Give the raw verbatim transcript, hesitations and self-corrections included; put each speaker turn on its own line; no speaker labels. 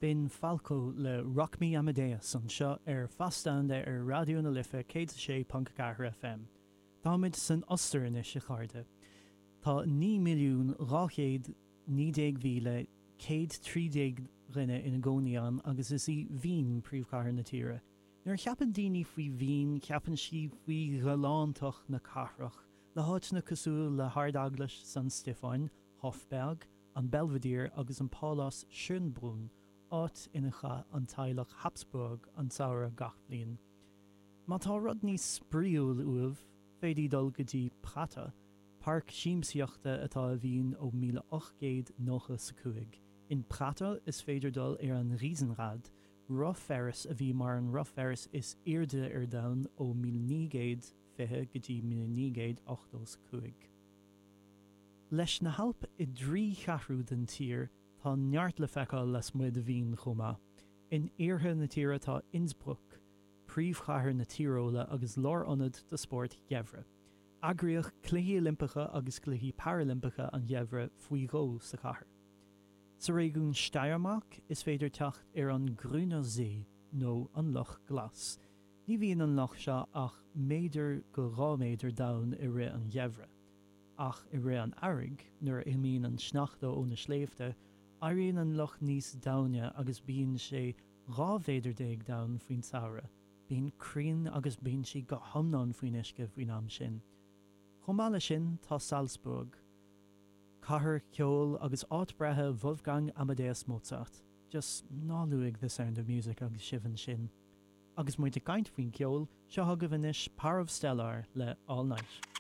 B'in Falco le Rock Me Amadeus anseo ar Fás Domhanda ar Raidió na Life céad a sé ponc ceathair FM. Táimid san Ostair anois a chairde. Tá naoi milliún dhá chéad naoi déag mhíle céad trí déag dhuine ina gcónaí ann agus is í Vín príomhchathair na tíre. Nuair a cheapann daoine faoi Vín ceapann siad faoi ghalántacht na cathrach, le háiteanna cosúil le hArdeaglais San Stiofáin, Hofberg, an Belvedere agus an Pálás Schönbrunn, áit ina chaith an teaghlach Habsburg an samhradh gach bliain. Má tá rud níos spraíúil uaibh, féadfaidh dul go dtí Prater, páirc siamsaíochta atá i Vín ó míle ocht gcéad nócha is a cúig. In Prater is féidir dul ar an Riesenrad, roth Ferris a bhí mar an roth Ferris is airde ar domhan ó míle naoi gcéad fiche go dtí míle naoi gcéad ochtó is a cúig. Leis na hAilp i dtrí cheathrú den tír, tá neart le feiceáil lasmuigh de Vín chomh maith. In iarthar na tíre tá Innsbruck, príomhchathair na Tíoróile agus lárionad do spóirt gheimhridh. Eagraíodh Cluichí Oilimpeacha agus Cluichí Parailimpeacha an Gheimhridh faoi dhó sa chathair. Sa réigiún Steiermark is féidir teacht ar an Grüner See nó an Loch Glas. Ní bhíonn an loch seo ach méadar go dhá mhéadar domhain i rith an gheimhridh. Ach i rith an earraigh, nuair a imíonn an sneachta ó na sléibhte, éiríonn an loch níos domhaine agus bíonn sé dhá mhéadar déag domhain faoin samhradh. Bíonn crainn agus binsí go hiomlán faoin uisce faoin am sin. Chomh maith leis sin tá Salzburg, cathair cheoil agus áit breithe Wolfgang Amadeus Mozart. Just ná luaigh The Sound of Music agus sibh ansin. Agus muid ag caint faoin gceol, seo agaibh anois Parov Stelar le All Night.